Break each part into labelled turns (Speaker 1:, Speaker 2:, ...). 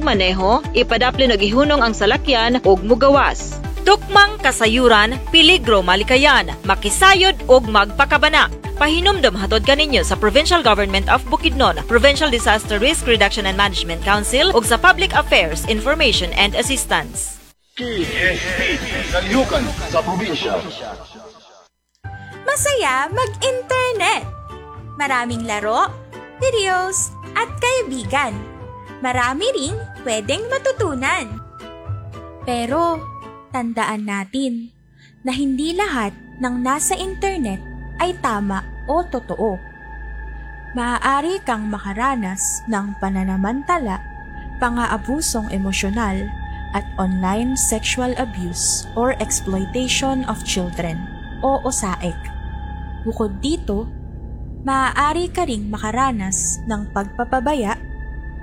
Speaker 1: pagmaneho, ipadaplin og ihunong ang salakyan ug mugawas. Tukmang kasayuran, peligro malikayan, makisayod og magpakabana. Pahinumdom hatod kaninyo sa Provincial Government of Bukidnon, Provincial Disaster Risk Reduction and Management Council ug sa Public Affairs Information and Assistance.
Speaker 2: KSP, Kalihukan sa Probinsya.
Speaker 3: Masaya mag-internet. Maraming laro, videos, at kaibigan. Marami ring pwedeng matutunan. Pero, tandaan natin na hindi lahat ng nasa internet ay tama o totoo. Maaari kang makaranas ng pananamantala, pang-aabusong emosyonal, at online sexual abuse or exploitation of children o OSAEC. Bukod dito, maaari ka ring makaranas ng pagpapabaya,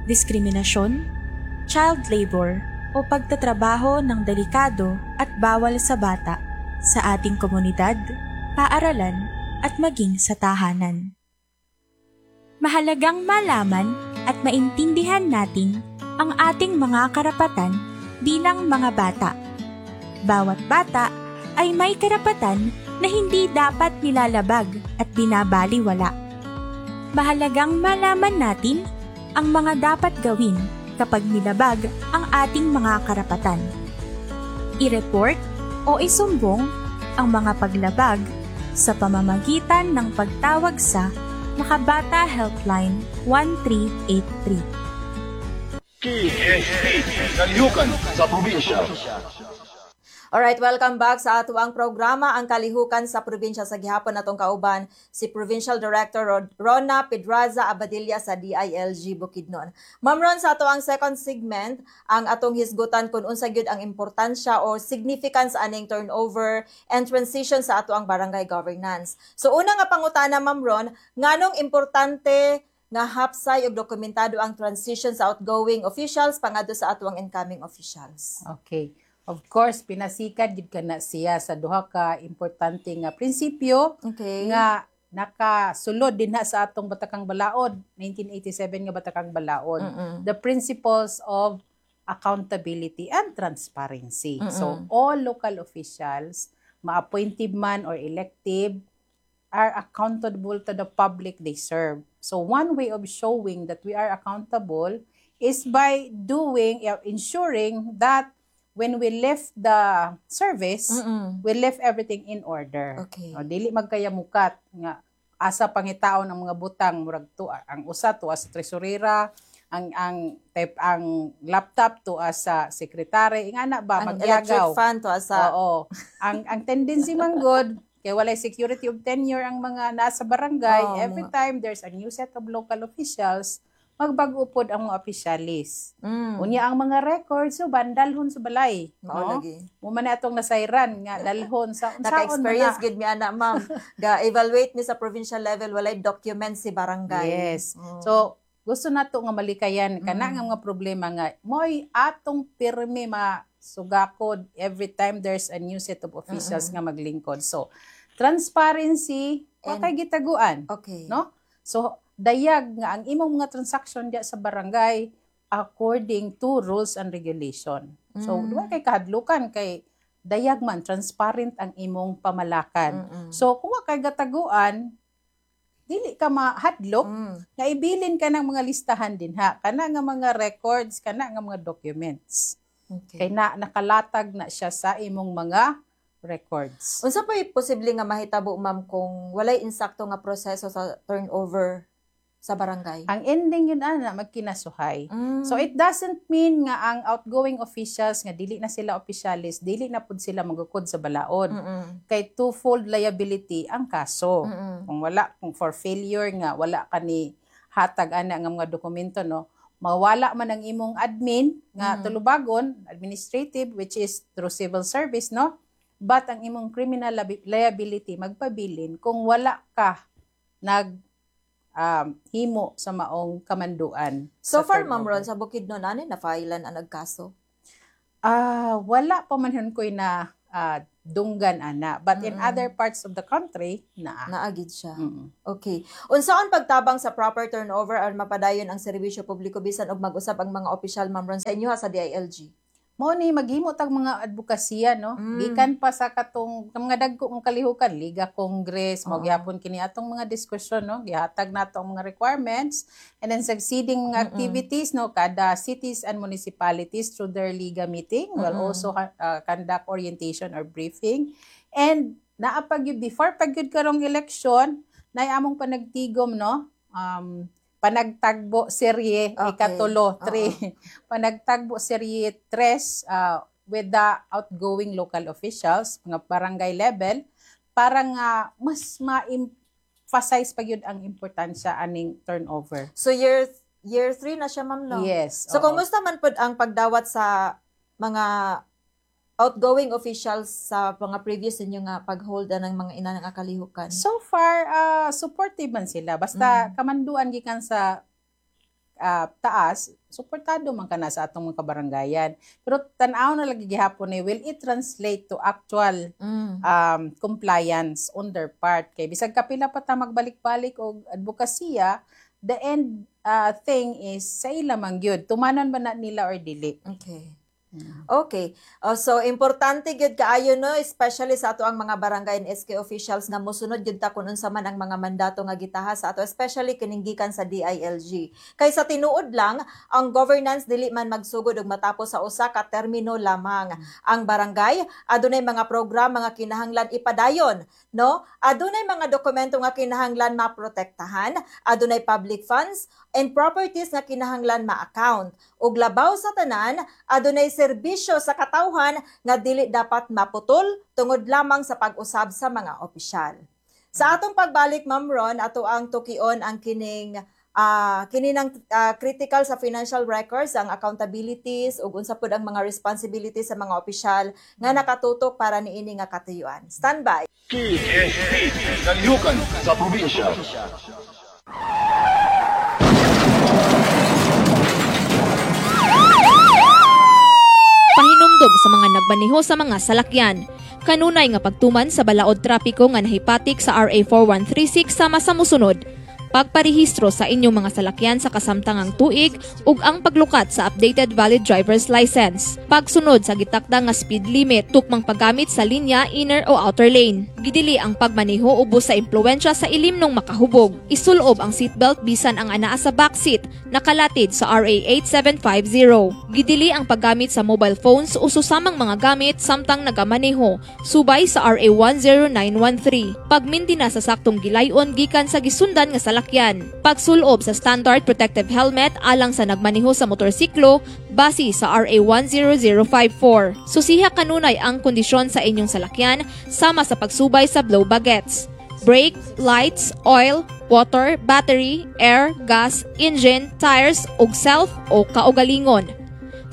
Speaker 3: diskriminasyon, child labor o pagtatrabaho ng delikado at bawal sa bata sa ating komunidad, paaralan at maging sa tahanan. Mahalagang malaman at maintindihan natin ang ating mga karapatan bilang mga bata. Bawat bata ay may karapatan na hindi dapat nilalabag at binabaliwala. Mahalagang malaman natin ang mga dapat gawin kapag nilabag ang ating mga karapatan. I-report o isumbong ang mga paglabag sa pamamagitan ng pagtawag sa Makabata Helpline 1383.
Speaker 2: KSP, Kalihukan sa Probinsya.
Speaker 4: Alright, welcome back sa atuang programa, Ang Kalihukan sa Probinsya. Sa gihapon natong kauban si Provincial Director Rona Pedraza Abadilla sa DILG Bukidnon. Ma'am Ron, sa atuang second segment, ang atong hisgutan kung unsa gyud ang importansya o significance aning turnover and transition sa atuang barangay governance. So una nga pangutana, Ma'am Ron, nganong importante nga hapsay og dokumentado ang transition sa outgoing officials pangadto sa atuang incoming officials?
Speaker 5: Okay. Of course, pinasikad gid kana siya sa duha ka importante nga prinsipyo nga nakasulod din ha sa atong Batakang Balaod, 1987 nga Batakang Balaod. The principles of accountability and transparency. So, all local officials, ma-appointed man or elective, are accountable to the public they serve. So, one way of showing that we are accountable is by ensuring that when we left the service, we left everything in order. O, dili magkayamukat nga asa pangitaon ang mga butang, murag to ang usa to sa tresurera, ang type ang laptop to sa sekretary, ingana ba?
Speaker 4: Ang electric
Speaker 5: Magyagaw.
Speaker 4: Fan to asa.
Speaker 5: Oo. Ang tendency man gud kay walay security of tenure ang mga nasa barangay, every time there's a new set of local officials, magbag-o pod ang mga opisyalis. Unya ang mga records so bandalhon sa balay,
Speaker 4: Mao
Speaker 5: no?
Speaker 4: lagi.
Speaker 5: Mo man na atong nasayran nga dalhon sa unsaon man
Speaker 4: Naka-experience
Speaker 5: na.
Speaker 4: gid mi ana, ma'am. Ga-evaluate mi sa provincial level, walay document si barangay.
Speaker 5: Yes. So gusto nato nga malikayan kana nga mga problema nga mo'y atong pirmi masugakod every time there's a new set of officials nga maglingkod. So transparency, wa kay gitaguan, no? So dayag nga ang imong mga transaction diya sa barangay according to rules and regulation. So wa kay kahadlukan kay dayag man, transparent ang imong pamalakad. So kung wa kay gataguan, dili ka mahadlok nga ibilin ka ng mga listahan dinha, kana nga mga records, kana nga mga documents. Kay na nakalatag na siya sa imong mga records.
Speaker 4: Unsa pa'y posible nga mahitabo, ma'am, kung walay insakto nga proseso sa turnover sa barangay?
Speaker 5: Ang ending yun ana, magkinasuhay. So it doesn't mean nga ang outgoing officials nga dili na sila opisyalis, dili na pud sila magukod sa balaod. Kay twofold liability ang kaso. Kung wala, kung for failure nga wala ka ni hatag ana nga mga dokumento, no, mawala man ang imong admin nga tulubagon, administrative, which is through civil service, no, but ang imong criminal liability magpabilin kung wala ka nag himo sa maong kamanduan
Speaker 4: So
Speaker 5: sa
Speaker 4: far, Ma'am
Speaker 5: turnover.
Speaker 4: Ron, sa Bukidnon, ano na filean ang nagkaso?
Speaker 5: Ah, wala pa man ko'y na dunggan ana. But in other parts of the country, naa.
Speaker 4: Naa gyud siya. Okay. Unsaon pagtabang sa proper turnover aron mapadayon ang serbisyo publiko bisan og mag-usab ang mga opisyal, Ma'am Ron, sa inyo ha, sa DILG?
Speaker 5: Mao ni maghimo tag mga advokasya, no? Gikan pa sa katong mga dagko ng kalihukan, Liga, Congress, mao gihapon kini atong mga diskusyon, no? Gihatag nato ang mga requirements and then succeeding mga activities, no? Kada cities and municipalities through their Liga meeting will also conduct orientation or briefing. And naa pa gyud, before pa gyud karong election, nay among panagtigom, no? Panagtagbo serye ikatulo, three. Panagtagbo serye 3 with the outgoing local officials, mga barangay level, para nga mas ma-emphasize pa gyud ang importansya aning turnover.
Speaker 4: So year year 3 na siya, ma'am, no?
Speaker 5: Yes.
Speaker 4: So
Speaker 5: oo.
Speaker 4: Kumusta man pud ang pagdawat sa mga outgoing officials sa mga previous ninyo nga pag-hold ng mga ina ng kalihukan?
Speaker 5: So far, supportive man sila. Basta kamanduan gikan sa taas, suportado man kana sa atong mga kabarangayan. Pero tan-aw na lagi gihapon ni, will it translate to actual compliance on their part? Kay bisag kapila pa ta magbalik-balik og advokasya, the end thing is sa ila man gyud. Tumanon ba na nila or dili?
Speaker 4: Okay. Okay. Oh, so importante gyud kaayo, no, especially sa ato ang mga barangay and SK officials, nga mosunod gyud ta kun unsa man ang mga mandato nga gitaha sa ato, especially kining gikan sa DILG. Kay sa tinuod lang, ang governance dili man magsugod ug matapos sa usa ka termino lamang. Ang barangay adunay mga programa nga kinahanglan ipadayon, no? Adunay mga dokumento nga kinahanglan maprotektahan, adunay public funds and properties nga kinahanglan ma-account. Ug labaw sa tanan, adunay serbisyo sa katawhan nga dili dapat maputol tungod lamang sa pag-usab sa mga opisyal. Sa atong pagbalik, Ma'am Ron, ato ang tukion ang kining kini ng critical sa financial records, ang accountabilities ug unsa pud ang mga responsibilities sa mga opisyal nga nakatutok para niini nga katuyuan. Stand by.
Speaker 2: PSP, Kalihukan sa Probinsya.
Speaker 1: Pahinumdom sa mga nagmaneho sa mga salakyan. Kanunay nga pagtuman sa balaod trapiko nga nahipatik sa RA 4136 sama sa musunod: pagparehistro sa inyong mga salakyan sa kasamtangang tuig ug ang paglukat sa updated valid driver's license. Pagsunod sa gitakda nga speed limit, tukmang paggamit sa linya, inner o outer lane. Gidili ang pagmaneho ubos sa impluwensya sa ilimnong makahubog. Isulob ang seatbelt bisan ang anaa sa backseat, nakalatid sa RA 8750. Gidili ang paggamit sa mobile phones o susamang mga gamit samtang nagamaneho, subay sa RA 10913. Pagmindina sa saktong gilayon gikan sa gisundan nga salakyan. Pagsulob sa standard protective helmet alang sa nagmaneho sa motorsiklo base sa RA 10054. Susiha kanunay ang kondisyon sa inyong salakyan sama sa pagsubay sa blow bagets: brake, lights, oil, water, battery, air, gas, engine, tires, ug self o kaugalingon.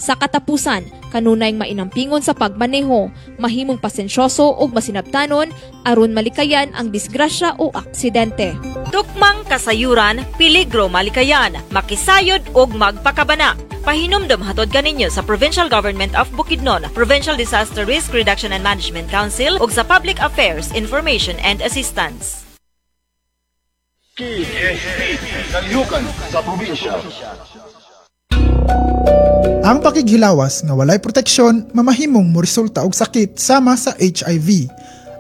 Speaker 1: Sa katapusan, kanunay mainampingon sa pagmaneho, mahimong pasensyoso ug masinabtanon aron malikayan ang disgrasya o aksidente. Tukmang kasayuran, peligro malikayan, makisayod ug magpakabana. Pahinumdom hatod kaninyo sa Provincial Government of Bukidnon, Provincial Disaster Risk Reduction and Management Council ug sa Public Affairs Information and Assistance.
Speaker 2: PSP, Kalihukan sa Probinsya.
Speaker 6: Ang pakighilawas nga walay proteksyon mamahimong moresulta og sakit sama sa HIV.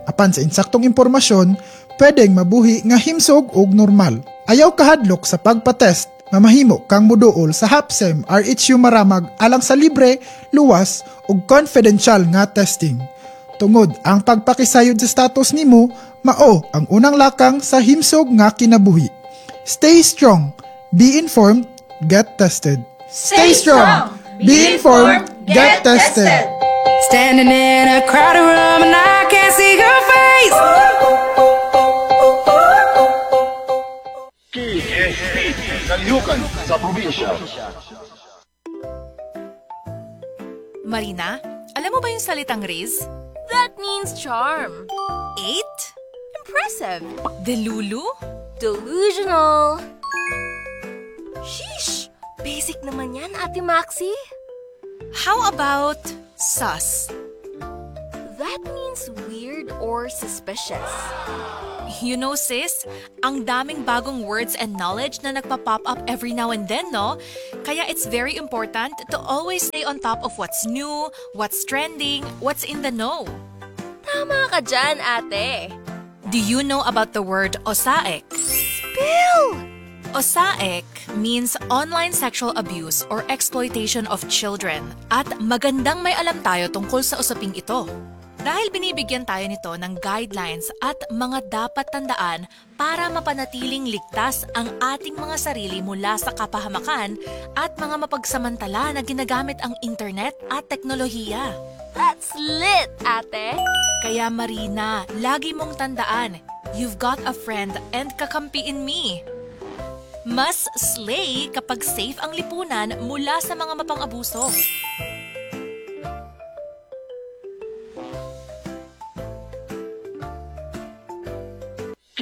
Speaker 6: Apan sa insaktong impormasyon, pwedeng mabuhi nga himsog og normal. Ayaw kahadlok sa pagpa-test, mamahimo kang muduol sa HAPSEM RHU Maramag alang sa libre, luwas ug confidential nga testing. Tungod ang pagpakisayod sa status nimo, mao ang unang lakang sa himsog nga kinabuhi. Stay strong, be informed, get tested. Stay strong, be informed, get tested.
Speaker 7: Standing in a crowded room and I can't see your face.
Speaker 2: PSP, Kalihukan sa Probinsya.
Speaker 8: Marina, alam mo ba yung salitang Riz? That means charm. Eight? Impressive. Delulu?
Speaker 9: Delusional. Sheesh! Basic naman yan, Ate Maxi.
Speaker 8: How about sus?
Speaker 9: That means weird or suspicious.
Speaker 8: You know, sis, ang daming bagong words and knowledge na nagpa-pop up every now and then, no? Kaya it's very important to always stay on top of what's new, what's trending, what's in the know.
Speaker 9: Tama ka dyan, ate.
Speaker 8: Do you know about the word OSAEC?
Speaker 9: Spill!
Speaker 8: OSAEC means online sexual abuse or exploitation of children, at magandang may alam tayo tungkol sa usaping ito. Dahil binibigyan tayo nito ng guidelines at mga dapat tandaan para mapanatiling ligtas ang ating mga sarili mula sa kapahamakan at mga mapagsamantala na ginagamit ang internet at teknolohiya.
Speaker 9: That's lit, ate.
Speaker 8: Kaya, Marina, lagi mong tandaan, you've got a friend and kakampi in me. Mas slay kapag safe ang lipunan mula sa mga mapang-abuso.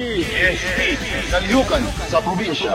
Speaker 2: KSP, Kalihukan sa Probinsya.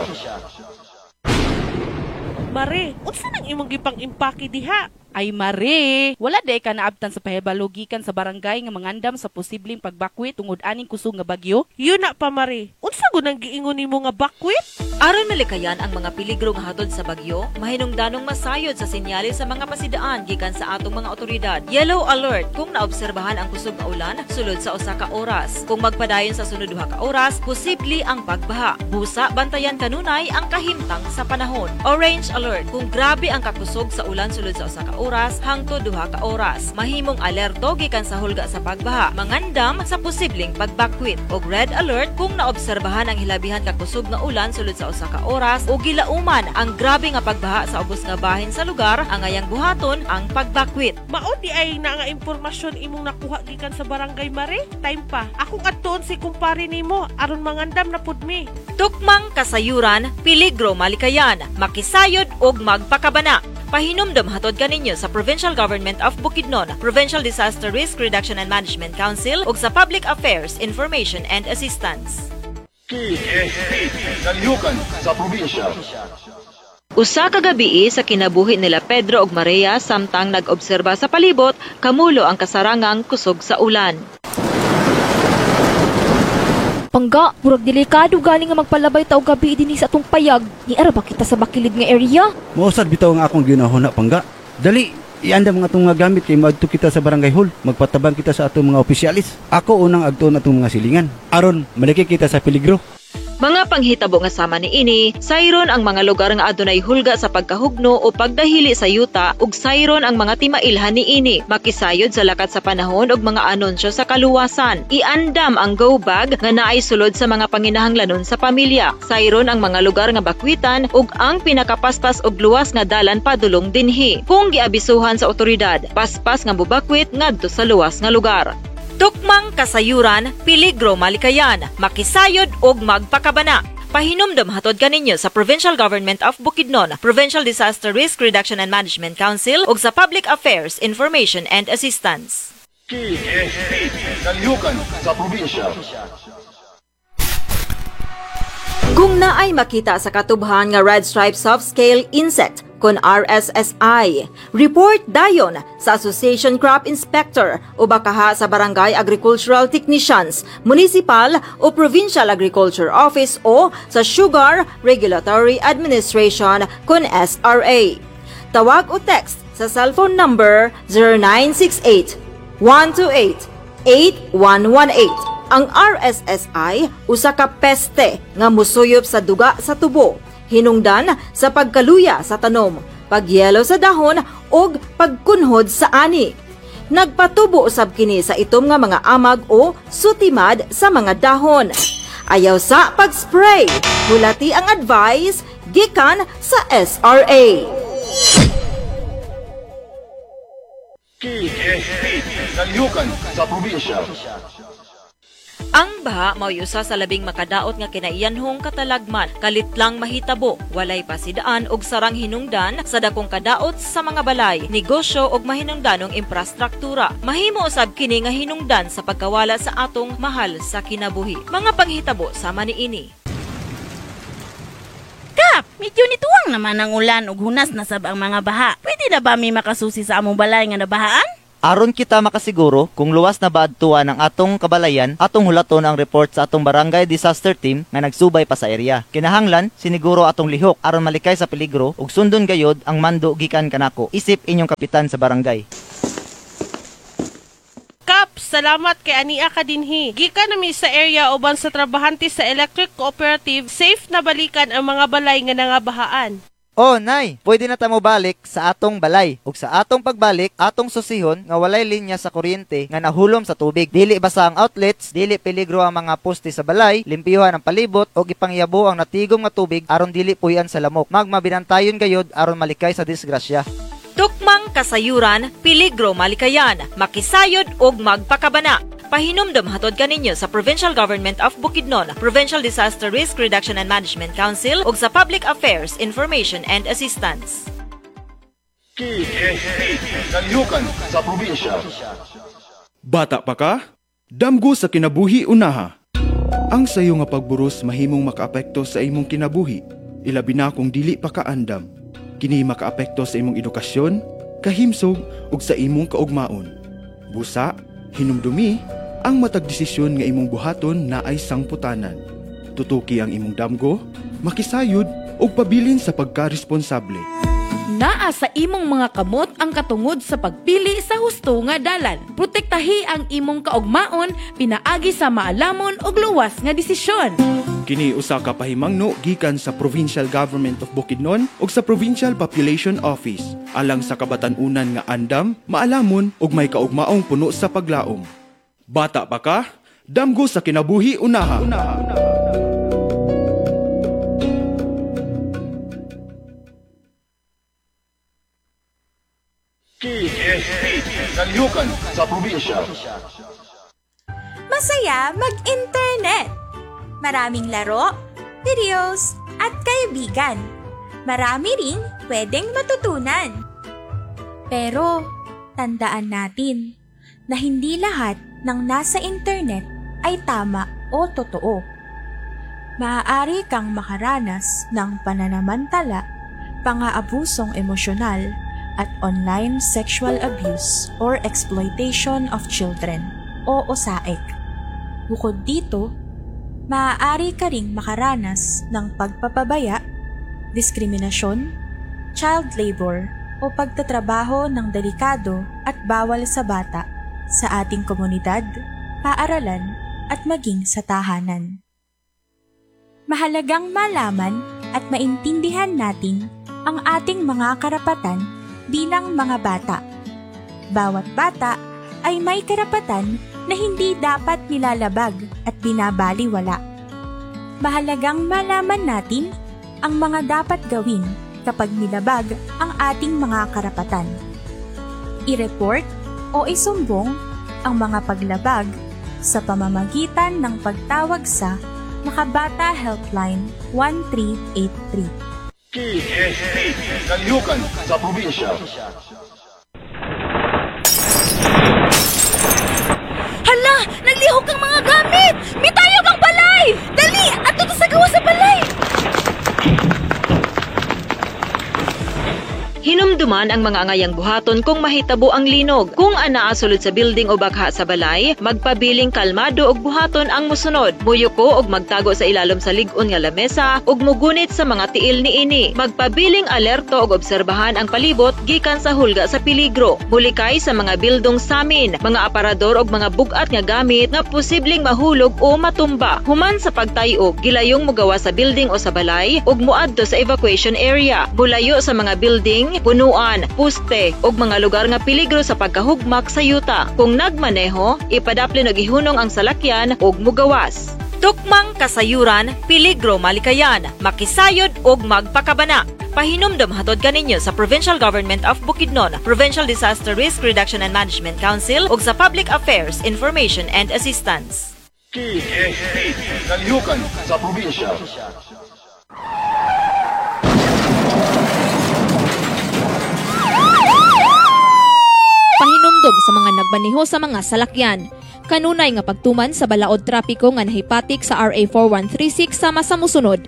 Speaker 10: Mare, unsa nang imong gipang impake diha?
Speaker 11: Ay mare, wala day ka naabtan sa pahibalo gikan sa barangay nga mangandam sa posibleng pagbakwit tungod aning kusog nga bagyo.
Speaker 10: Yun na pa, mare. Unsa gud ang giingon nimo nga bakwit?
Speaker 1: Aron malikayan ang mga peligro nga hatod sa bagyo, mahinungdanong masayod sa senyales sa mga pasidaan gikan sa atong mga otoridad. Yellow alert kung naobserbahan ang kusog nga ulan sulod sa usa ka oras. Kung magpadayon sa sunod duha ka oras, posible ang pagbaha. Busa, bantayan kanunay ang kahimtang sa panahon. Orange alert kung grabe ang kakusog sa ulan sulod sa usa ka oras hangtod 2 ka oras. Mahimong alerto gikan sa hulga sa pagbaha, mangandam sa posibleng pagbakwit. Og red alert kung naobserbahan ang hilabihan kakusog nga ulan sulod sa usa ka oras o gilauman ang grabe nga pagbaha sa ubos nga bahin sa lugar, angayang buhaton ang pagbakwit.
Speaker 10: Mao di ay na nga impormasyon imong nakuha gikan sa barangay, mare? Time pa. Akong adtuon si kumpare nimo aron mangandam na pud mi.
Speaker 1: Tukmang kasayuran, peligro malikayan, makisayod og magpakabana. Pahinumdom hatod kaninyo sa Provincial Government of Bukidnon, Provincial Disaster Risk Reduction and Management Council ug sa Public Affairs Information and Assistance.
Speaker 2: KSP, Kalihukan sa Probinsya.
Speaker 1: Usa ka gabii sa kinabuhi nila Pedro ug Maria samtang nag-obserba sa palibot, kamulo ang kasarangang kusog sa ulan.
Speaker 12: Pangga, murag delikado galing nga magpalabay ta og gabi dinhi sa atong payag. Niara ba kita sa bakilid nga area?
Speaker 13: Mausad bitaw nga akong ginahuna, pangga. Dali, iandam nga atong mga gamit kay maadto kita sa barangay hall. Magpatabang kita sa atong mga opisyalis. Ako unang agtuon atong mga silingan. Aron maliki kita sa peligro.
Speaker 1: Mga panghitabo nga sama niini, sayron ang mga lugar nga adunay hulga sa pagkahugno o pagdahili sa yuta ug sayron ang mga timailhan niini. Makisayod sa lakat sa panahon ug mga anunsyo sa kaluwasan. Iandam ang go bag nga naay sulod sa mga panginahanglanon sa pamilya. Sayron ang mga lugar nga bakwitan ug ang pinakapaspas og luwas nga dalan padulong dinhi. Kung giabisuhan sa otoridad, paspas nga bubakwit ngadto sa luwas nga lugar. Tukmang kasayuran, peligro malikayan, makisayod og magpakabana. Pahinumdom hatod kaninyo sa Provincial Government of Bukidnon, Provincial Disaster Risk Reduction and Management Council ug sa Public Affairs Information and Assistance.
Speaker 2: KSP, Kalihukan sa Probinsya.
Speaker 1: Kung naay makita sa katubhan nga red stripe soft scale insect kon RSSI, report dayon sa Association Crop Inspector o bakaha sa Barangay Agricultural Technicians, Municipal o Provincial Agriculture Office o sa Sugar Regulatory Administration kon SRA. Tawag o text sa cellphone number 0968 128 8118. Ang RSSI usa ka peste nga musuyop sa duga sa tubo, hinungdan sa pagkaluya sa tanom, pagyelo sa dahon ug pagkunhod sa ani. Nagpatubo usab kini sa itom nga mga amag o sutimad sa mga dahon. Ayaw sa pag-spray. Hulati ang advice gikan sa SRA.
Speaker 2: KSP, Kalihukan sa Probinsya.
Speaker 1: Ang baha mao'y usa sa labing makadaot nga kinaiyanhong katalagman, kalitlang mahitabo, walay pasidaan og sarang hinungdan sa dakong kadaot sa mga balay, negosyo og mahinungdanong imprastruktura. Mahimo usab kini nga hinungdan sa pagkawala sa atong mahal sa kinabuhi. Mga panghitabo sama niini.
Speaker 14: Kap, medyo nituwang naman ang ulan ug hunas na sab ang mga baha. Pwede na ba mi makasusi sa among balay nga nabahaan? Aron kita makasiguro kung luwas na ba adtuan ang atong kabalayan, atong hulaton ang report sa atong barangay disaster team nga nagsubay pa sa area. Kinahanglan siniguro atong lihok aron malikay sa peligro ug sundon gayod ang mando gikan kanako. Isip inyong kapitan sa barangay.
Speaker 10: Kap, salamat kay ania ka dinhi. Gikan nami sa area uban sa trabahante sa Electric Cooperative, safe na balikan ang mga balay nga nangabahaan.
Speaker 14: Oh, nay, pwede na ta mo balik sa atong balay. Ug sa atong pagbalik, atong susihon nga walay linya sa kuryente nga nahulom sa tubig. Dili basa ang outlets, dili peligro ang mga poste sa balay, limpiyuhan ang palibot ug ipangyabo ang natigom nga tubig aron dili puy-an sa lamok. Magmabinantayon gayod aron malikay sa disgrasya.
Speaker 1: Tukmang kasayuran, peligro malikayan, makisayod og magpakabana. Pahinumdom hatod kaninyo sa Provincial Government of Bukidnon, Provincial Disaster Risk Reduction and Management Council ug sa Public Affairs Information and Assistance.
Speaker 2: KSP, Kalihukan sa probinsya.
Speaker 15: Bata pa ka? Damgo sa kinabuhi unaha. Ang sayo nga pagburos mahimong makaapekto sa imong kinabuhi, ilabi na kung dili pa ka andam. Kini makaapekto sa imong edukasyon, kahimsog ug sa imong kaugmaon. Busa, hinumdumi, ang matag desisyon nga imong buhaton naay sangputanan. Tutuki ang imong damgo, makisayod ug pabilin sa pagkaresponsable.
Speaker 16: Naa sa imong mga kamot ang katungod sa pagpili sa husto nga dalan. Protektahi ang imong kaugmaon pinaagi sa maalamon ug luwas nga desisyon.
Speaker 15: Kini usa ka pahimangno gikan sa Provincial Government of Bukidnon ug sa Provincial Population Office alang sa kabatan-unan nga andam, maalamon ug may kaugmaong puno sa paglaom. Bata pa ka? Damgo sa kinabuhi unaha.
Speaker 2: KSP, Kalihukan sa probinsya.
Speaker 3: Masaya mag-internet! Maraming laro, videos, at kaibigan. Marami ring pwedeng matutunan. Pero, tandaan natin na hindi lahat ng nasa internet ay tama o totoo. Maaari kang makaranas ng pananamantala, pang-aabusong emosyonal, at online sexual abuse or exploitation of children o OSAEC. Bukod dito, maaari ka ring makaranas ng pagpapabaya, diskriminasyon, child labor o pagtatrabaho ng delikado at bawal sa bata sa ating komunidad, paaralan at maging sa tahanan. Mahalagang malaman at maintindihan natin ang ating mga karapatan bilang mga bata. Bawat bata ay may karapatan na hindi dapat nilalabag at binabaliwala. Mahalagang malaman natin ang mga dapat gawin kapag nilabag ang ating mga karapatan. I-report o isumbong ang mga paglabag sa pamamagitan ng pagtawag sa Makabata Helpline 1383.
Speaker 2: KSP, Kalihukan sa probinsya.
Speaker 16: Hala! Naglihok ang mga gamit! Mitayog ang balay! Dali! Adto ta sa gawas sa balay!
Speaker 1: Hinumduman ang mga angayang buhaton kung mahitabo ang linog. Kung anaa sulod sa building o bakha sa balay, magpabiling kalmado og buhaton ang musunod. Muyuko og magtago sa ilalom sa lig-on nga lamesa ug mugunit sa mga tiil niini. Magpabiling alerto og obserbahan ang palibot gikan sa hulga sa peligro. Mulikay sa mga bildong samin, mga aparador og mga bug-at nga gamit nga posibleng mahulog o matumba. Human sa pagtay-og, gilayong mogawa sa building o sa balay ug moadto sa evacuation area. Mulayo sa mga building, punuan, puste ug mga lugar nga peligro sa pagkahugmak sa yuta. Kung nagmaneho, ipadaplin og ihunong ang salakyan ug mugawas. Tukmang kasayuran, peligro malikayan, makisayod ug magpakabana. Pahinumdom hatod kaninyo sa Provincial Government of Bukidnon, Provincial Disaster Risk Reduction and Management Council ug sa Public Affairs Information and Assistance.
Speaker 2: KSP, Kalihukan sa probinsya.
Speaker 12: Pahinumdom sa mga nagmaneho sa mga salakyan. Kanunay nga pagtuman sa balaod trapiko nga nahipatik sa RA 4136 sama sa musunod.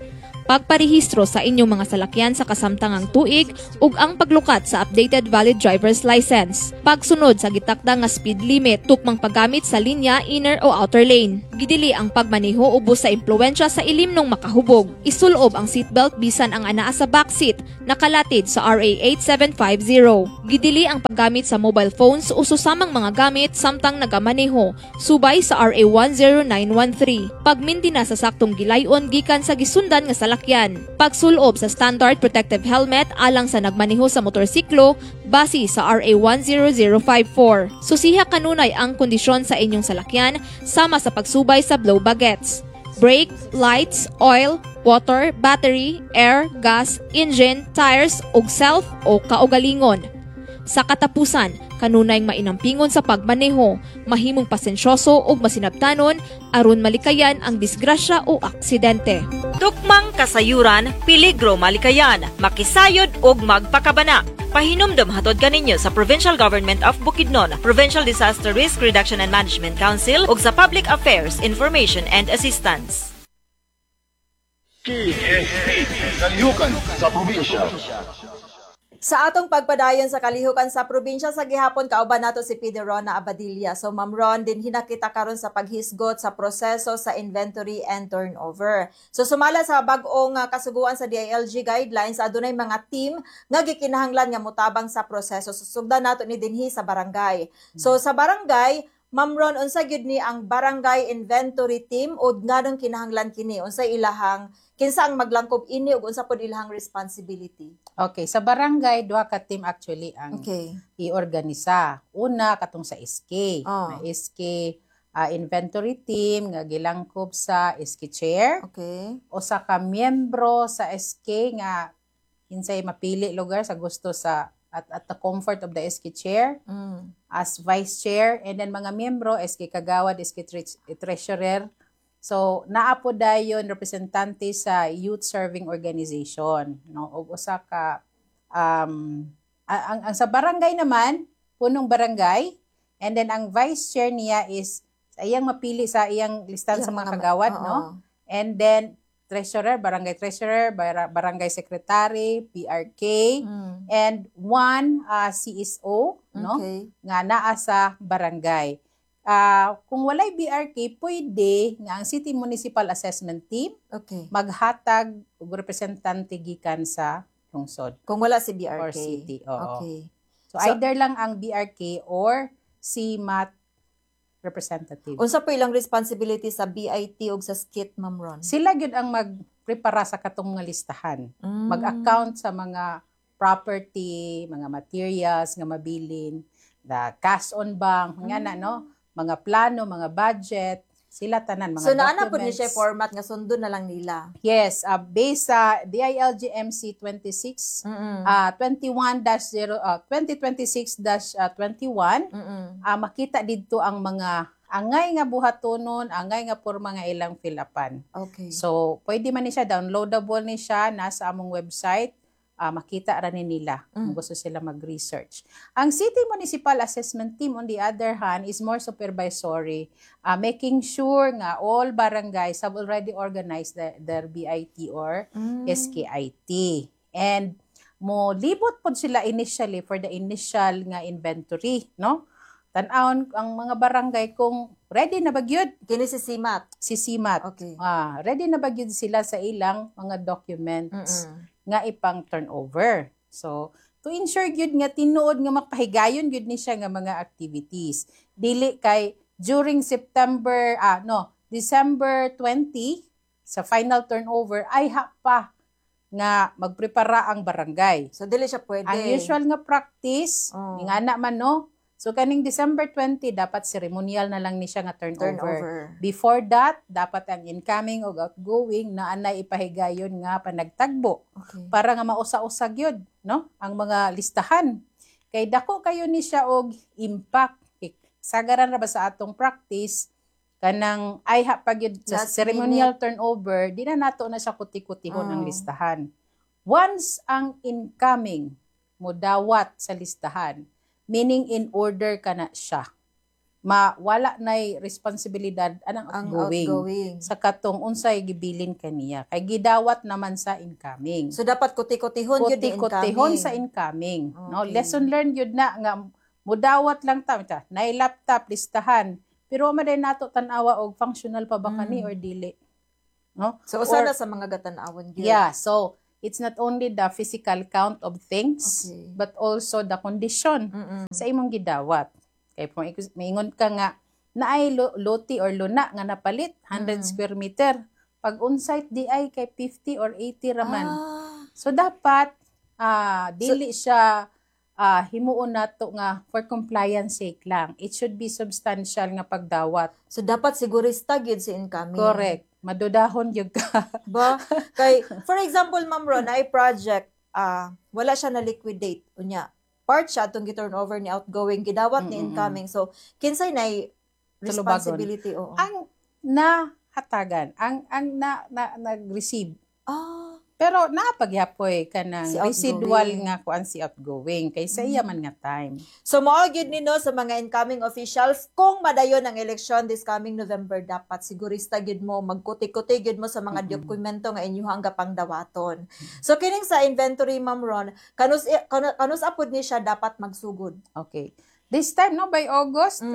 Speaker 12: Pagparehistro sa inyong mga salakyan sa kasamtangang tuig ug ang paglukat sa updated valid driver's license. Pagsunod sa gitakda nga speed limit, tukmang paggamit sa linya, inner o outer lane. Gidili ang pagmaneho ubos sa impluwensya sa ilimnong makahubog. Isulob ang seatbelt bisan ang anaa sa backseat, nakalatid sa RA 8750. Gidili ang paggamit sa mobile phones o susamang mga gamit samtang nagamaneho, subay sa RA 10913. Pagmindina sa saktong gilayon gikan sa gisundan nga salakyan. Pagsulob sa standard protective helmet alang sa nagmaneho sa motorsiklo base sa RA 10054. Susiha kanunay ang kondisyon sa inyong salakyan sama sa pagsubay sa blow baguettes. Brake, lights, oil, water, battery, air, gas, engine, tires ug self o kaugalingon. Sa katapusan, kanunay mainampingon sa pagmaneho, mahimong pasensyoso ug masinabtanon aron malikayan ang disgrasya o aksidente.
Speaker 1: Tukmang kasayuran, peligro malikayan, makisayod ug magpakabana. Pahinumdom hatod kaninyo sa Provincial Government of Bukidnon, Provincial Disaster Risk Reduction and Management Council ug sa Public Affairs Information and Assistance.
Speaker 2: KSP, Kalihukan sa Probinsya.
Speaker 4: Sa atong pagpadayon sa Kalihukan sa Probinsya sa gihapon, kauban nato si PD Rona Abadilla. So Ma'am Ron, din hinakita karon sa paghisgot sa proseso sa inventory and turnover. So sumala sa bag-ong kasuguan sa DILG guidelines, adunay mga team nga gikinahanglan nga motabang sa proseso. Susugdan nato ni dinhi sa barangay. So sa barangay, Ma'am Ron, unsa gyud ni ang barangay inventory team ug nganong kinahanglan kini? Unsa ilahang, kinsa ang maglangkob ini ug unsa pod ilahang responsibility?
Speaker 5: Okay, sa barangay duha ka team actually ang iorganisa. Una, katong sa SK. May SK inventory team nga gilangkob sa SK chair. Usa ka miyembro sa SK nga kinsay mapili lugar sa gusto sa at the comfort of the SK chair as vice chair, and then mga miyembro, SK kagawad, SK treasurer. So naa po dayon representante sa youth serving organization, no, ug usa ka ang sa barangay naman, punong barangay, and then ang vice chair niya is sa iyang mapili sa iyang listahan sa
Speaker 4: Iyang
Speaker 5: mga
Speaker 4: mga
Speaker 5: kagawad, no, and then treasurer, barangay treasurer, barangay secretary, PRK, and one CSO, no, nga naa sa barangay. Kung walay BRK, pwede nga ang City Municipal Assessment Team maghatag og representante gikan sa lungsod.
Speaker 4: Kung wala si BRK.
Speaker 5: Or city, oo. So, either lang ang BRK or CMAT representative.
Speaker 4: Unsa po ilang responsibility sa BIT ug sa SKIT, Ma'am Ron?
Speaker 5: Sila gyud ang magprepara sa katong mga listahan. Mag-account sa mga property, mga materials nga mabilin, the cash on bank, nga na, no? Mga plano, mga budget, sila tanan, mga
Speaker 4: So naa na po ni
Speaker 5: documents.
Speaker 4: siya format nga sundon na lang nila.
Speaker 5: Yes, based sa DILG MC 26 21-0 2026-21, makita didto ang mga angay nga buhatonon, angay nga porma nga ilang fill-upan. So, pwede man ni siya, downloadable ni siya nasa among website. Makita ra ni nila kung gusto sila mag-research. Ang City Municipal Assessment Team, on the other hand, is more supervisory, making sure nga all barangays have already organized their BIT or SKIT. And mo libot pod sila initially for the initial nga inventory, no? Tan-awon ang mga barangay kung ready na ba gyud.
Speaker 4: Kini si CMAT.
Speaker 5: Si CMAT. Ready na ba gyud sila sa ilang mga documents nga ipang turnover. So, to ensure gyud nga tinuod nga mapahigayon gyud ni siya nga mga activities. Dili kay during September, no, December 20 sa final turnover ay ha pa nga magprepara ang barangay.
Speaker 4: So dili siya pwede.
Speaker 5: Ang usual nga practice, nga na man, no. So kaning December 20, dapat ceremonial na lang ni siya nga turnover.
Speaker 4: Turnover.
Speaker 5: Before that, dapat ang incoming o outgoing na anay ipahigayon nga panagtagbo para nga mausa-usa gyud, no, ang mga listahan. Kay dako kayo ni siya og impact. Kay sagaran ra ba sa atong practice kanang ay ha pa gyud sa
Speaker 4: Last
Speaker 5: ceremonial
Speaker 4: minute.
Speaker 5: turnover, di na nato na siya kuti-kutihon ang listahan. Once ang incoming mo dawat sa listahan, meaning in order ka na siya. Mawala nay responsibilidad anang
Speaker 4: Ang
Speaker 5: outgoing,
Speaker 4: outgoing.
Speaker 5: Sa katong unsay gibilin kaniya kay gidawat naman sa incoming.
Speaker 4: So dapat kuti-kutihon gyud ni
Speaker 5: Kuti-kutihon
Speaker 4: incoming.
Speaker 5: Sa incoming, no?
Speaker 4: Okay.
Speaker 5: Lesson learned yun na nga mudawat lang ta ta nay laptop, listahan, pero man day nato tan-awa og functional pa ba kani or dili, no?
Speaker 4: So usa
Speaker 5: Or
Speaker 4: na sa mga gatan-awon gyud.
Speaker 5: Yeah, so it's not only the physical count of things but also the condition sa imong gidawat. Kay kung maingon ka nga naay loti or luna nga napalit 100 square meter, pag on-site di ay kay 50 or 80 raman. So dapat dili siya himuon nato nga for compliance sake lang. It should be substantial nga pagdawat.
Speaker 4: So dapat sigurista gyud si incoming.
Speaker 5: Correct. Madudahon gyud ka.
Speaker 4: Ba? Kay for example, Ma'am Ron, ay project wala siya na liquidate unya. Part siya atong gi-turn over ni outgoing, gidawat ni incoming. So kinsay nay
Speaker 5: Tulubagon?
Speaker 4: responsibility, oo.
Speaker 5: Ang nahatagan, ang na nag-receive. Pero naapagyapoy kanang
Speaker 4: Si
Speaker 5: residual
Speaker 4: outgoing.
Speaker 5: nga kuan si outgoing kay sa iya man nga time.
Speaker 4: So mao gyud ni no sa mga incoming officials, kung madayon ang eleksyon this coming November, dapat sigurista gyud mo, magkuti-kuti gyud mo sa mga dokumento nga inyuhang gapang dawaton. So kining sa inventory, Ma'am Ron, kanus apod ni siya dapat magsugod?
Speaker 5: Okay. This time, no, by August,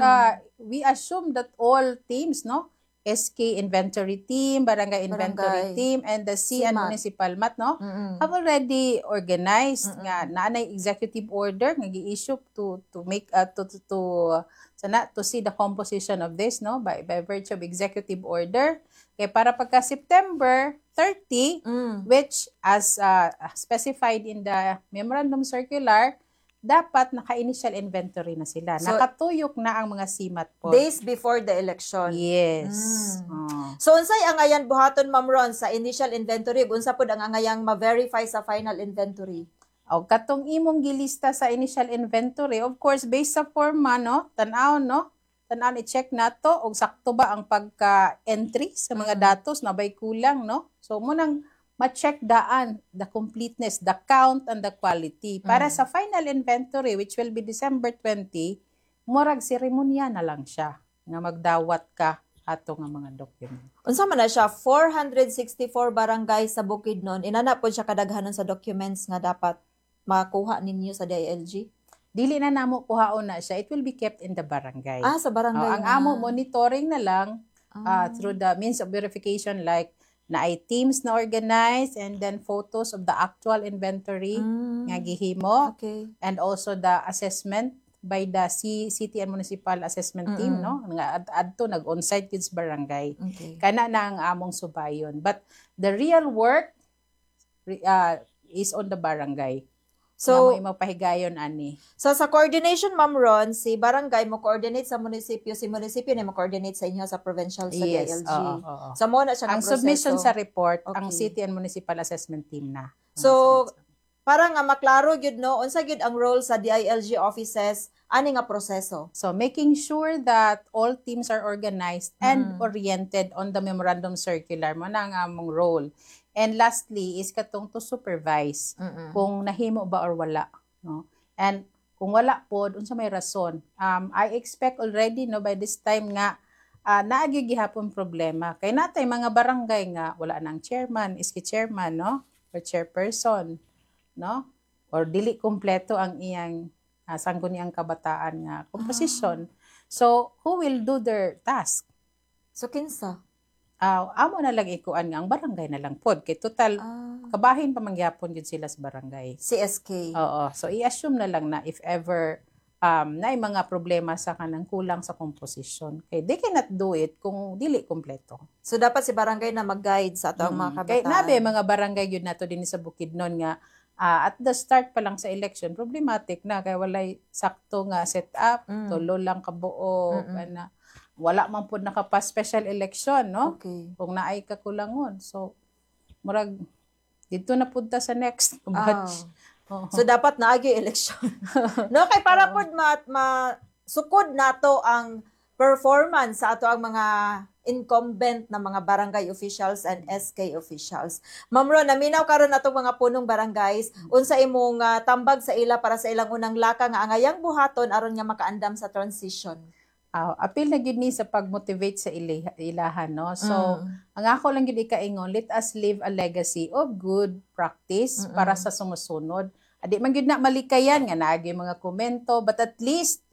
Speaker 5: we assume that all teams, no, SK inventory team, barangay inventory
Speaker 4: Barangay.
Speaker 5: Team, and the C and
Speaker 4: CMAT.
Speaker 5: municipal MAT, no, have already organized nga naanay executive order nga gi-issue to make to sana to see the composition of this, no, by virtue of executive order kay para pagka September 30, which as specified in the memorandum circular, dapat naka-initial inventory na sila.
Speaker 4: So,
Speaker 5: Nakatuyok na ang mga CMAT po.
Speaker 4: Days before the election.
Speaker 5: Yes. Oh.
Speaker 4: So unsay angayan buhaton, Ma'am Ron, sa initial inventory ug unsa pud ang angayang ma-verify sa final inventory?
Speaker 5: O katong imong gilista sa initial inventory, of course based sa forma, no, tan-aw, no? Tan-aw, i-check nato og sakto ba ang pagka-entry sa mga datos, na bay kulang, no? So munang ma-check daan the completeness, the count and the quality para sa final inventory, which will be December 20, murag seremonya na lang siya nga magdawat ka ato nga mga document.
Speaker 4: Unsa man na siya, 464 barangay sa Bukidnon, inana pod siya kadaghanon sa documents nga dapat makuha ninyo sa DILG?
Speaker 5: Dili na namo kuhaon na siya. It will be kept in the barangay.
Speaker 4: Ah, sa barangay
Speaker 5: Oh, ang
Speaker 4: na.
Speaker 5: amo monitoring na lang through the means of verification like na ay teams na organized and then photos of the actual inventory nga gihimo and also the assessment by the city and municipal assessment team, no, nga adto nag on-site gid sa barangay. Kana na ang among subayon, but the real work is on the barangay.
Speaker 4: So,
Speaker 5: So, mo pahigayon ani.
Speaker 4: So sa coordination, Ma'am Ron, si barangay mo coordinate sa munisipyo, si munisipyo na mo coordinate sa inyo sa provincial, sa
Speaker 5: Yes,
Speaker 4: DILG.
Speaker 5: oo.
Speaker 4: So mo na siya nga
Speaker 5: Ang submission
Speaker 4: proseso.
Speaker 5: sa report, ang city and municipal assessment team na.
Speaker 4: So para nga maklaro gyud, no, unsa gyud ang role sa DILG offices ani nga proseso?
Speaker 5: So making sure that all teams are organized and oriented on the memorandum circular mo na ang among role. And lastly is katong to supervise kung nahimo ba or wala, no? And kung wala pod, unsa may rason? I expect already, no, by this time nga naa gyud gihapon problema kay natay mga barangay nga wala nang chairman, iski chairman, no, or chairperson, no, or dili kumpleto ang iyang sangguniang kabataan nga composition. So who will do their task?
Speaker 4: So kinsa?
Speaker 5: Amo na lang ikuan nga ang barangay na lang pod kay total kabahin pa man gyapon gyud sila sa barangay.
Speaker 4: CSK.
Speaker 5: Oo. So i-assume na lang na if ever naay mga problema sa kanang kulang sa composition kay they cannot do it kung dili kompleto.
Speaker 4: So dapat si barangay na mag-guide sa atong mga
Speaker 5: Kay
Speaker 4: kabataan.
Speaker 5: nabe mga barangay gyud nato dinhi sa Bukidnon nga at the start pa lang sa election problematic na kay walay sakto nga set up, tulo lang kabuo, ana wala man pud nakapa special election, no? Kung naay kakulangon. So murag didto na pud ta sa next batch. Oo.
Speaker 4: So dapat naagi election, no, kay para pod ma sukod nato ang performance sa ato ang mga incumbent na mga barangay officials and SK officials. Ma'am Ron, naminaw karon natong mga punong barangays, unsa imong tambag sa ila para sa ilang unang laka nga angayang buhaton aron nga makaandam sa transition?
Speaker 5: Apil na gyud ni sa pag-motivate sa ilahan, no? So, ang ako lang gyud ikaingon, let us leave a legacy of good practice para sa sumusunod. Adi man gyud na malikayan nga naagi mga komento, but at least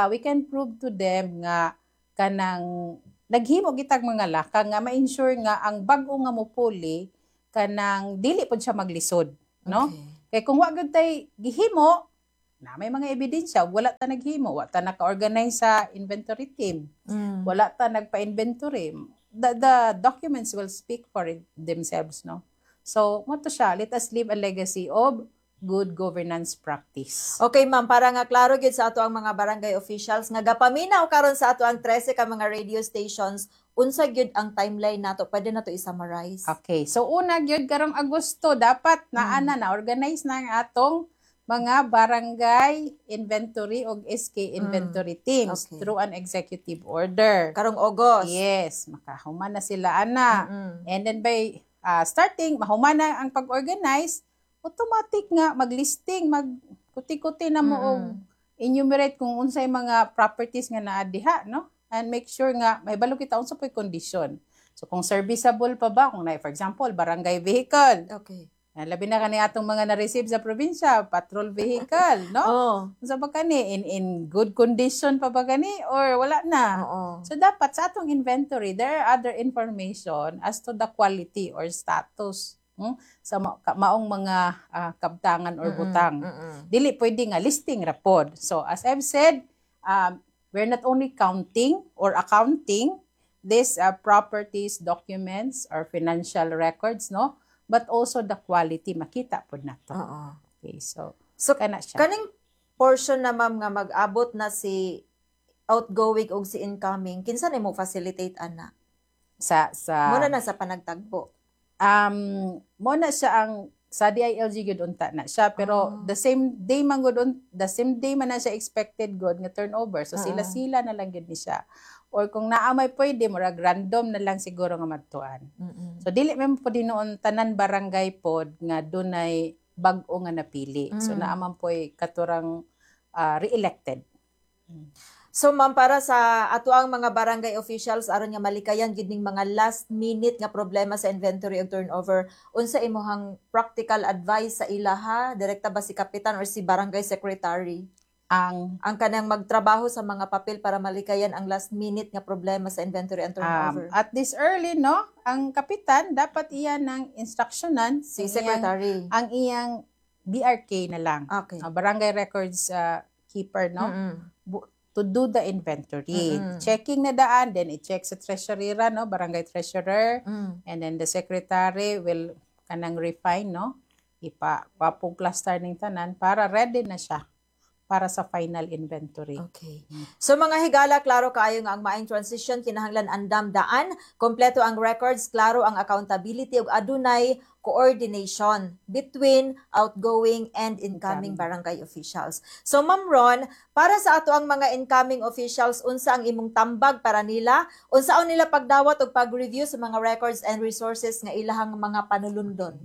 Speaker 5: we can prove to them nga kanang naghimo gitag mga lakang nga ma-ensure nga ang bag-o nga mopuli kanang dili pud siya maglisod, no? Kay kung wa gyud tay gihimo, na may mga ebidensya, wala ta naghimo, wa ta naka-organize sa inventory team, wala ta nagpa-inventory, the documents will speak for it themselves, no? So, mo to siya, let us leave a legacy of good governance practice.
Speaker 4: Okay, ma'am, para nga klaro gyud sa ato ang mga barangay officials nga gapaminaw karon sa ato ang 13 ka mga radio stations, unsa gyud ang timeline nato? Pwede nato i-summarize?
Speaker 5: Okay, so una gyud karong Agosto dapat naa na na-organize na ang atong mga barangay inventory og SK inventory teams through an executive order.
Speaker 4: Karong August.
Speaker 5: Yes, makahuman na sila ana. And then by starting mahuman na ang pag-organize, automatic nga maglisting, mag kuti-kuti na mo og enumerate kung unsay mga properties nga naa diha, no? And make sure nga mahibalo kita unsa po'y condition. So kung serviceable pa ba, kung na, for example, barangay vehicle. Labi na kani atong mga na-receive sa probinsya, patrol vehicle, no? Unsa ba kani, in good condition pa ba kani or wala na? So dapat sa atong inventory there are other information as to the quality or status sa maong mga kabtangan or butang. Dili pwede nga listing ra pod. So as I've said, we're not only counting or accounting these properties, documents, or financial records, no? But also the quality makita pod nato. Okay, so
Speaker 4: So
Speaker 5: kana siya.
Speaker 4: Kaning portion na, ma'am, nga mag-abot na si outgoing og si incoming, kinsa nimo facilitate ana?
Speaker 5: Sa
Speaker 4: Muna na sa panagtagbo.
Speaker 5: Mo na siya ang sa DILG gyud unta na siya, pero the same day man na siya expected good nga turnover, so sila sila na lang gyud ni siya, or kung naa may pwede, murag random na lang siguro nga madtuan. So dili man po noon tanan barangay pod nga dunay bag-o nga napili, so naa man poy katurang re-elected.
Speaker 4: So ma'am, para sa ato ang mga barangay officials aron nga malikayan gid ning mga last minute nga problema sa inventory ug turnover, unsa imong practical advice sa ilaha? Direkta ba si kapitan or si barangay secretary?
Speaker 5: Ang
Speaker 4: Ang kanang magtrabaho sa mga papel para malikayan ang last minute nga problema sa inventory and turnover.
Speaker 5: At this early, no, ang kapitan dapat iya ng instructionan
Speaker 4: si secretary.
Speaker 5: Ang iyang BRK na lang. Barangay records keeper, no? To do the inventory. Checking na daan, then i-check sa treasurer, no, barangay treasurer, and then the secretary will kanang refine, no? Ipa kwapong cluster ning tanan para ready na siya para sa final inventory.
Speaker 4: Okay. So mga higala, klaro kaayo nga ang maayong transition kinahanglan andam daan, kompleto ang records, klaro ang accountability ug adunay coordination between outgoing and incoming
Speaker 5: Incoming.
Speaker 4: barangay officials. So Ma'am Ron, para sa ato ang mga incoming officials, unsa ang imong tambag para nila? Unsaon nila pagdawat ug pag-review sa mga records and resources nga ilahang mga panulundon?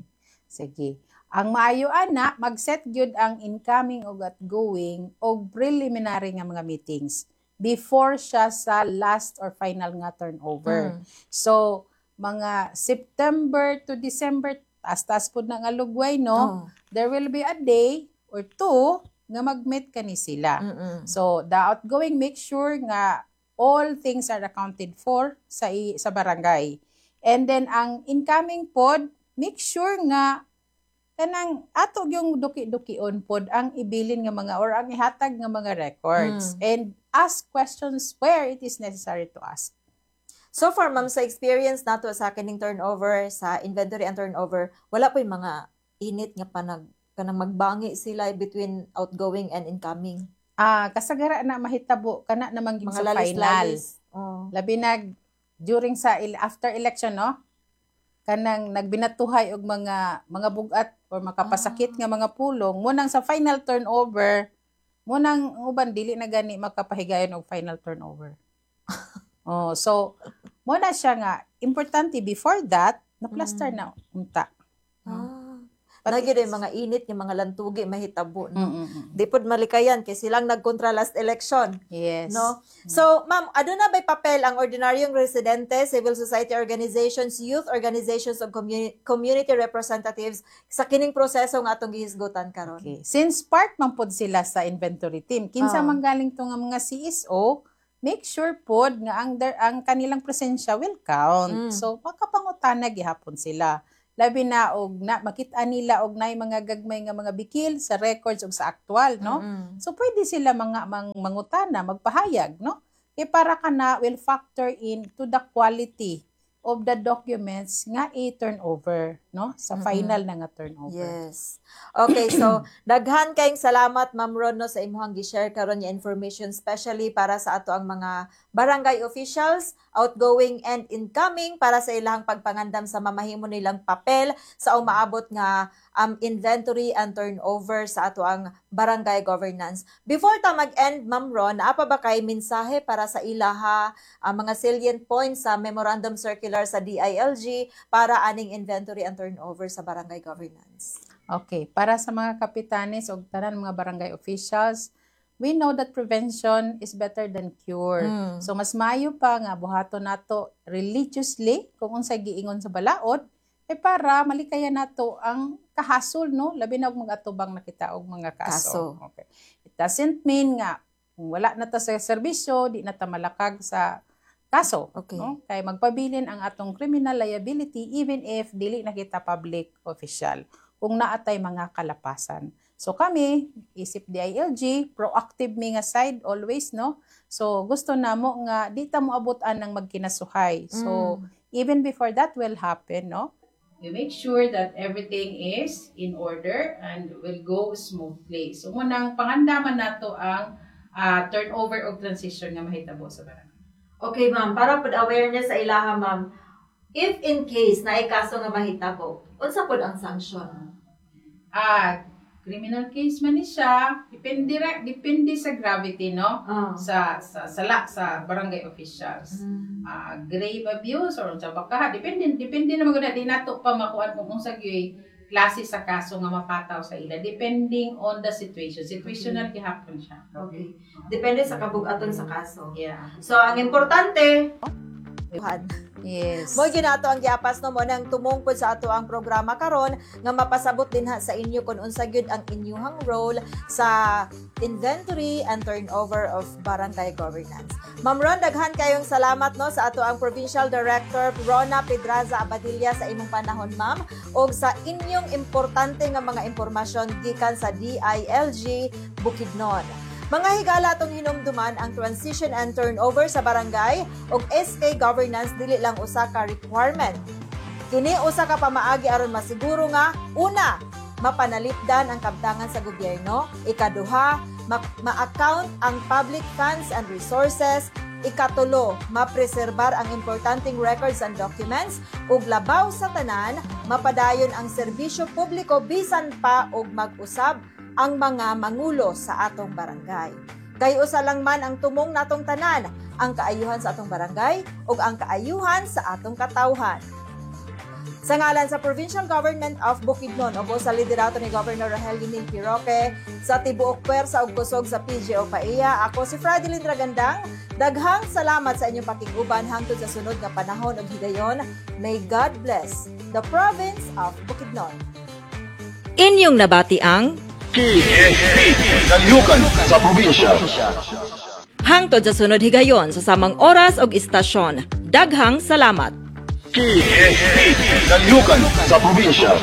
Speaker 5: Sige. Ang maayo ana, mag-set gyud ang incoming ug outgoing og preliminary nga mga meetings before siya sa last or final nga turnover. So, mga September to December, taas-taas pud na nga lugway, no? There will be a day or two nga mag-meet kani sila. So, the outgoing, make sure nga all things are accounted for sa barangay. And then ang incoming pod, make sure nga kanang ato yung duki-dukion pod ang ibilin nga mga or ang ihatag nga mga records and ask questions where it is necessary to ask.
Speaker 4: So far, ma'am, sa experience nato sa kining turnover, sa inventory and turnover, wala po'y mga init nga panag kanang magbangi sila between outgoing and incoming?
Speaker 5: Ah, kasagara na mahitabo kana naman gyud
Speaker 4: Mga
Speaker 5: sa final.
Speaker 4: Lalis-lalis. Oh.
Speaker 5: Labi nag during sa after election, no? Kanang nagbinatuhay og mga bugat or makapasakit nga mga pulong mo nang sa final turnover mo nang ang uban dili na gani makapahigayon og final turnover. Oh, so mo na siya nga importante before that na plaster na unta.
Speaker 4: Ah. Na gyud ay mga init nga mga lantugi mahitabo, no? Di pod malikayan kay silang nagkontra last election. No? So, ma'am, aduna bay papel ang ordinaryong residente, civil society organizations, youth organizations ug community representatives sa kining proseso nga atong gihisgutan karon?
Speaker 5: Okay. Since part man pod sila sa inventory team, kinsa man galing to nga mga CSO, make sure pod nga ang kanilang presensya will count. So makapangutana gihapon sila. Labi na og na makita nila og naay mga gagmay nga mga bikil sa records ug sa aktual, no? So pwede sila mga mangutana, magpahayag, no? Kay para kana will factor in to the quality of the documents nga i-turnover, no? Sa final na nga turnover.
Speaker 4: Yes. Okay, so daghan kayong salamat, Ma'am Ron, no, sa imong gi-share karon nga information, especially para sa ato ang mga barangay officials, outgoing and incoming, para sa ilang pagpangandam sa mamahimo nilang papel sa umaabot nga inventory and turnover sa ato ang barangay governance. Before ta mag-end, Ma'am Ron, naa pa ba kay mensahe para sa ilaha, ang mga salient points sa memorandum circular sa DILG para aning inventory and turnover sa barangay governance?
Speaker 5: Okay, para sa mga kapitanes o tanan mga barangay officials, we know that prevention is better than cure. So mas maayo pa nga buhaton nato religiously kung unsay giingon sa balaod eh para malikayan nato ang kahasol, no, labi na og mag-atubang na kita og mga kaso.
Speaker 4: Kaso.
Speaker 5: Okay. It doesn't mean nga kung wala na ta sa serbisyo, di na ta malakag sa kaso, no? Kay magpabilin ang atong criminal liability even if dili na kita public official kung naatay mga kalapasan. So kami, isip DILG, proactive mi nga side always, no? So gusto namo nga di ta moabot-an ng magkinasuhay. So even before that will happen, no? We make sure that everything is in order and will go smoothly. So munang pangandaman nato ang turnover o transition nga mahitabo sa barangay.
Speaker 4: Okay, ma'am. Para pod awareness sa ilaha, ma'am. If in case na kaso nga mahitabo, unsa pod ang sanction?
Speaker 5: Criminal case man ni siya, depende sa gravity, no? Sa sala sa barangay officials. Grave abuse or unsa ba ka, depende depende naman gud na, di nato pa makuan kung unsa gyud klase sa kaso nga mapataw sa ila depending on the situation. Situational gihapon siya.
Speaker 4: Okay. Depende sa kabugaton sa kaso.
Speaker 5: Yeah.
Speaker 4: So, ang importante, Mo ginato ang giapas, no, mo nang tumungkod sa ato ang programa karon nga mapasabot din ha sa inyo kung unsa gyud ang inyuhang role sa inventory and turnover of barangay governance. Ma'am Ron, daghan kayong salamat, no, sa ato ang Provincial Director Rona Pedraza Abadilla sa imong panahon, ma'am, ug sa inyong importante nga mga impormasyon gikan sa DILG Bukidnon. Mga higala, atong hinumduman ang transition and turnover sa barangay ug SK governance dili lang usa ka requirement. Kini usa ka pamaagi aron masiguro nga una, mapanalipdan ang kabtangan sa gobyerno, ikaduha, ma-account ang public funds and resources, ikatulo, mapreserbar ang importanteng records and documents, ug labaw sa tanan, mapadayon ang serbisyo publiko bisan pa og mag-usab ang mga mangulo sa atong barangay. Kay usa lang man ang tumong natong tanan, ang kaayuhan sa atong barangay ug ang kaayuhan sa atong katawhan. Sa ngalan sa Provincial Government of Bukidnon ug sa liderato ni Governor Rogelio Neil P. Roque, sa tibuok puwersa ug kusog sa PGO PAEA, ako si Fradeline Dragandang. Daghang salamat sa inyong pakiguban hangtod sa sunod nga panahon ug higayon. May God bless the province of Bukidnon. Inyong nabati ang
Speaker 2: KSP, Kalihukan sa Probinsya.
Speaker 1: Hangtod sa sunod higayon sa samang oras ug istasyon. Daghang salamat.
Speaker 2: KSP, Kalihukan sa Probinsya.